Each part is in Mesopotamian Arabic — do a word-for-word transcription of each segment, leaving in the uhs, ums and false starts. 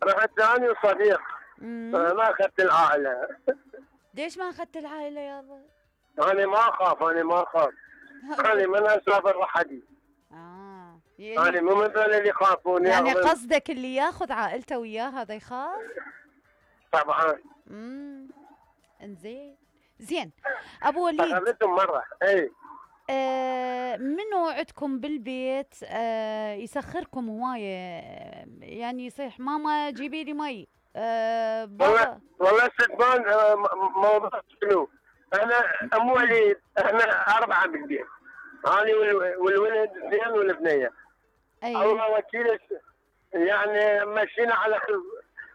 رحت اني وصديق. امم ما اخذت العائله. ليش ما اخذت العائله يابا؟ انا ما اخاف، انا ما اخاف. انا من اسافر وحدي. اه انا يعني مو من ذول اللي يخافون يعني ياخذون. قصدك اللي ياخذ عائلته وياه هذا يخاف؟ طبعا. امم انزين. زين ابو وليد، اخذتهم مره. اي آه منو عندكم بالبيت آه يسخركم هوايه؟ يعني يصيح ماما جيبي لي مي، آه والله بابا. والله ستمان. آه، م- موضوع شنو؟ انا ام وليد، احنا اربعه بالبيت. انا والو- والولد اثنين والبنيه. اي الله وكيل. يعني مشينا على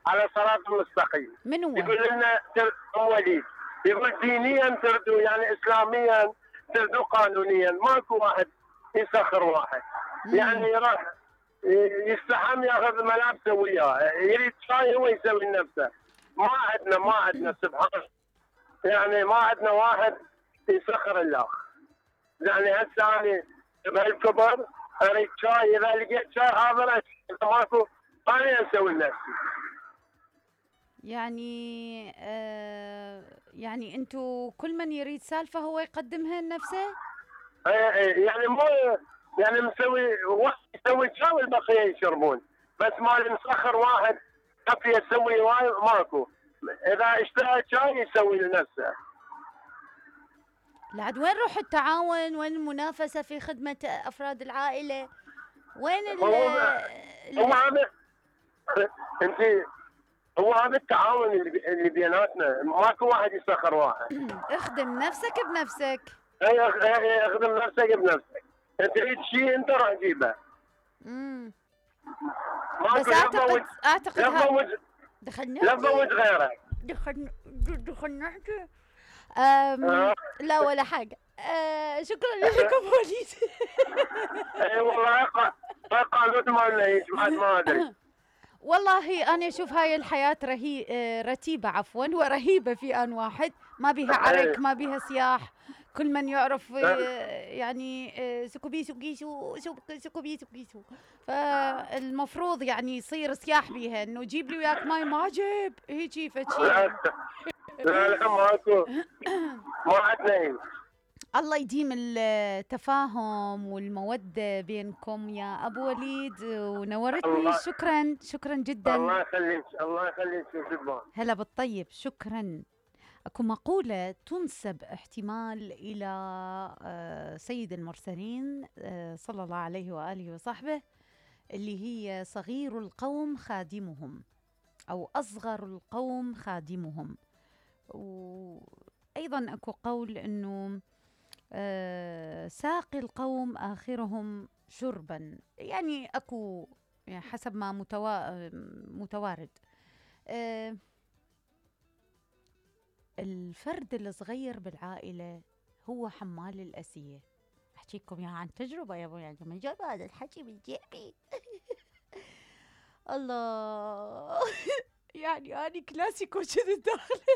على صراط المستقيم. من هو؟ يقول لنا تر- ام وليد يقول دينيا تردوا، يعني اسلاميا تردوا، قانونيا ماكو واحد يسخر واحد. امم يعني راح يستحم ياخذ ملابسه وياه، يريد شاي هو يسوي لنفسه. ما عندنا ما عندنا سبحان الله. يعني ما عندنا واحد يسخر الله. يعني هسه انا بهالكبر اريد شاي، اذا لقيت شاي حاضر اذا ماكو انا اسوي لنفسي. يعني آه يعني انتو كل من يريد سالفه هو يقدمها لنفسه؟ إيه إيه، يعني مو يعني مسوي واحد يسوي شاي والبقيه يشربون، بس ما نسخر واحد كفي يسوي واي ماكو. اذا اشترى شاي يسوي لنفسه. لعد وين روح التعاون؟ وين المنافسه في خدمه افراد العائله؟ وين ال هو هو ال- هذا. انت هو هذا التعاون اللي بي- اللي بيناتنا، ماكو واحد يسخر واحد. اخدم نفسك بنفسك. اي أخ- إي، اخدم نفسك بنفسك. انت تريد شيء انت راح تجيبه. امم ماكو بس لا اعتقد تفوت اعتقد لا ها تفوت دخلنا لا تفوت غيره. دخلنا دخلنا نحكي. أم آه. لا ولا حاجة. أه شكرا لك ابو وليد. اي والله ق- قالوا ما لنا بعد ما ادري. والله انا اشوف هاي الحياة رهي آه، رتيبة عفوا ورهيبة في ان واحد، ما بيها عرك، اي ما بيها صياح. كل من يعرف آه. آه، يعني آه، سكوبي سكيسو سك- سكوبي سكيسو. فالمفروض يعني يصير صياح بيها انه جيب لي وياك ماي، ما جيب هيجي فشي لا يعني. لا لا ماكو. ما عندنا إيه. الله يديم التفاهم والمودة بينكم يا أبو وليد، ونورتني. الله شكرا شكرا جدا. الله يخليك الله يخليك يا شبان. هلا بالطيب، شكرا. أكو مقولة تنسب احتمال إلى آه، سيد المرسلين آه، صلى الله عليه وآله وصحبه، اللي هي صغير القوم خادمهم، أو أصغر القوم خادمهم. وأيضا أكو قول أنه آه، ساقي القوم آخرهم شربا. يعني أكو يعني حسب ما متوا... متوارد. آه، الفرد الصغير بالعائلة هو حمال الأسية. أحكيكم يا عن تجربة يا ابو، يعني من جاب هذا الحكي من جيبي. الله. يعني أنا كلاسيكو كذي داخل